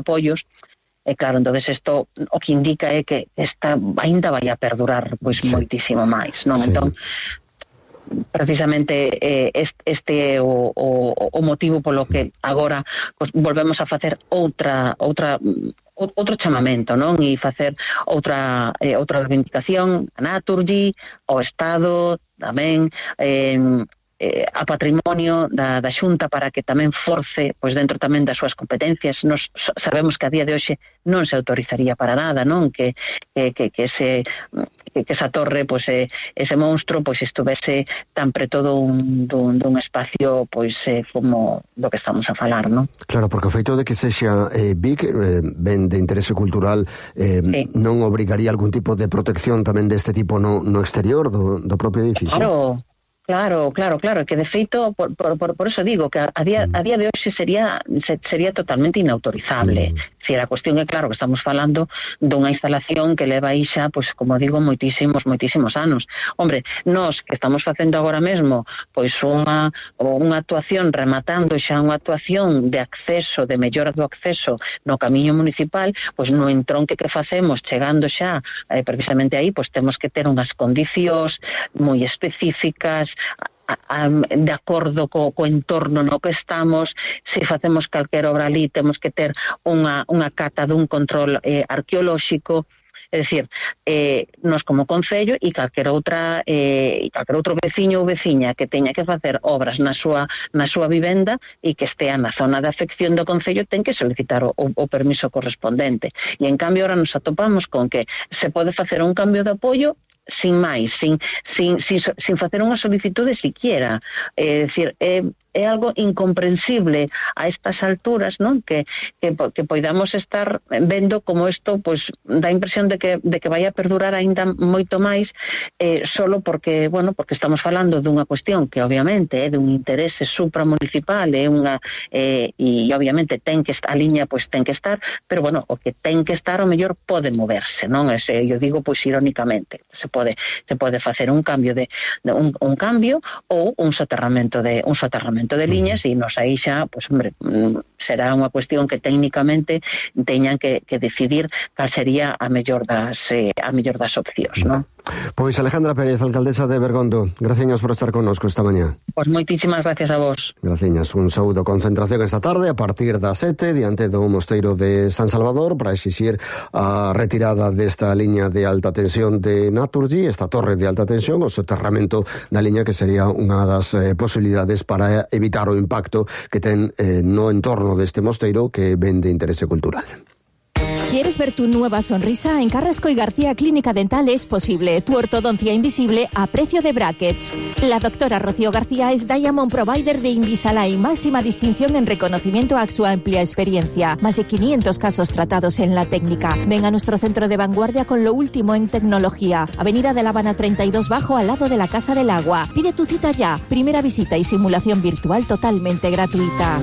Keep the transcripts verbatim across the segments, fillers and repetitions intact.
apoios, e claro, entonces isto o que indica é que esta ainda vai a perdurar pois sí. moitísimo máis, non? Sí. Entón, precisamente eh, este é o, o, o motivo polo que agora pues, volvemos a facer outra outra outro chamamento, non? E facer outra eh, outra reivindicación a Naturgy, ao Estado, tamén eh, eh, a patrimonio da, da Xunta para que tamén force, pois dentro tamén das súas competencias. Nos sabemos que a día de hoxe non se autorizaría para nada, non? Que, que, que, que se que, que esa torre, pois, eh, ese monstro, pois, estuvese tan preto dun, dun, dun espacio, pois, eh, como do que estamos a falar, non? Claro, porque o feito de que sexa eh, Vic, eh, ben de interese cultural, eh, sí. non obrigaría algún tipo de protección tamén deste tipo no, no exterior do, do propio edificio? Claro. Claro, claro, claro, que de feito, por, por, por eso digo que a día, a día de hoxe sería sería totalmente inautorizable. Mm. Si a cuestión é claro que estamos falando dunha instalación que leva aí xa, pois, como digo, moitísimos, moitísimos anos. Hombre, nós que estamos facendo agora mesmo, pois unha, unha actuación, rematando xa unha actuación de acceso, de mellora do acceso no camiño municipal, pois no entronque que facemos, chegando xa eh, precisamente aí, pois temos que ter unhas condicións moi específicas, A, a, de acordo co, co entorno no que estamos. Se facemos calquer obra ali temos que ter unha, unha cata dun control eh, arqueolóxico. É dicir, eh, nos como concello e calquer outra eh, e calquer outro veciño ou veciña que teña que facer obras na súa na súa vivenda e que estea na zona de afección do concello ten que solicitar o, o permiso correspondente. E en cambio ahora nos atopamos con que se pode facer un cambio de apoio sin máis, sin, sin, sin, sin facer unha solicitude siquiera. É dicir, é, é algo incomprensible a estas alturas, non? Que, que, que poidamos estar vendo como isto, pois, dá impresión de que, de que vai a perdurar aínda moito máis, eh, solo porque, bueno, porque estamos falando dunha cuestión que obviamente é dun interese supramunicipal, é unha, eh, e obviamente ten que estar, a liña pois ten que estar, pero bueno, o que ten que estar o mellor pode moverse, non? Ese, eu digo pois irónicamente, se pode, se pode facer un cambio de, de un, un cambio ou un soterramento de un soterramento de liñas e nos aí xa, pois, hombre, será unha cuestión que técnicamente teñan que, que decidir cal sería a mellor das eh, a mellor das opcións, non? Pois Alejandra Pérez, alcaldesa de Bergondo, graciñas por estar connosco esta mañá. Pois moitísimas gracias a vos. Graciñas, un saúdo. Concentración esta tarde a partir das sete diante do mosteiro de San Salvador para exixir a retirada desta liña de alta tensión de Naturgy, esta torre de alta tensión, o soterramento da liña que sería unha das eh, posibilidades para evitar o impacto que ten eh, no entorno deste mosteiro que ven de interese cultural. ¿Quieres ver tu nueva sonrisa? En Carrasco y García Clínica Dental es posible. Tu ortodoncia invisible a precio de brackets. La doctora Rocío García es Diamond Provider de Invisalign, máxima distinción en reconocimiento a su amplia experiencia. Más de quinientos casos tratados en la técnica. Ven a nuestro centro de vanguardia con lo último en tecnología. Avenida de La Habana treinta y dos Bajo, al lado de la Casa del Agua. Pide tu cita ya. Primera visita y simulación virtual totalmente gratuita.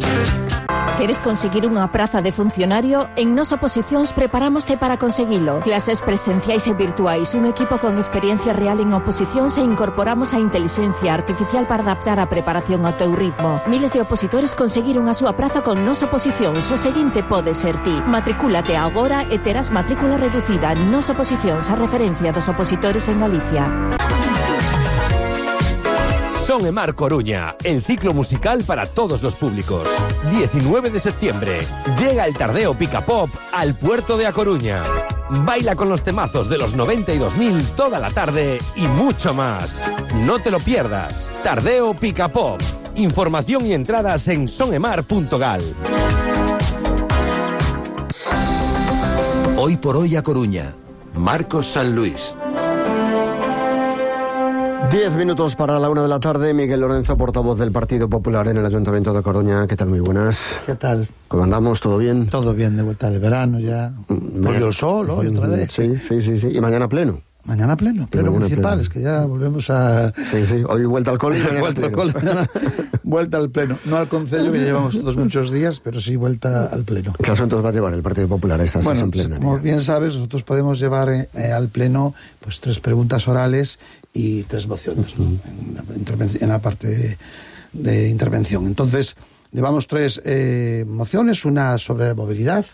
¿Quieres conseguir unha praza de funcionario? En Nos Oposicións preparámoste para conseguilo. Clases presenciais e virtuais, un equipo con experiencia real en oposicións e incorporamos a inteligencia artificial para adaptar a preparación ao teu ritmo. Miles de opositores conseguiron a súa praza con Nos Oposicións. O seguinte pode ser ti. Matricúlate agora e terás matrícula reducida. Nos Oposicións, a referencia dos opositores en Galicia. Son e Mar Coruña, el ciclo musical para todos los públicos. diecinueve de septiembre, llega el Tardeo Pica Pop al puerto de A Coruña. Baila con los temazos de los noventa y dos mil toda la tarde y mucho más. No te lo pierdas. Tardeo Pica Pop. Información y entradas en sonemar punto gal. Hoy por hoy A Coruña. Marcos San Luis. Diez minutos para la una de la tarde. Miguel Lorenzo, portavoz del Partido Popular en el Ayuntamiento de Coruña. ¿Qué tal? Muy buenas. ¿Qué tal? ¿Cómo andamos? ¿Todo bien? Todo bien, de vuelta del verano ya. Volvió el sol hoy otra vez. Sí, sí, sí, sí. Y mañana pleno. Mañana pleno, pleno mañana municipal, pleno. Es que ya volvemos a... Sí, sí, hoy vuelta al cole y mañana vuelta al cole, mañana vuelta al pleno. No al concello, que llevamos todos muchos días, pero sí vuelta al pleno. ¿Qué asuntos va a llevar el Partido Popular a esa bueno, sesión plenaria? Como bien sabes, nosotros podemos llevar eh, al pleno pues tres preguntas orales y tres mociones, ¿no? Uh-huh. en, la en la parte de, de intervención. Entonces, llevamos tres eh, mociones, una sobre movilidad,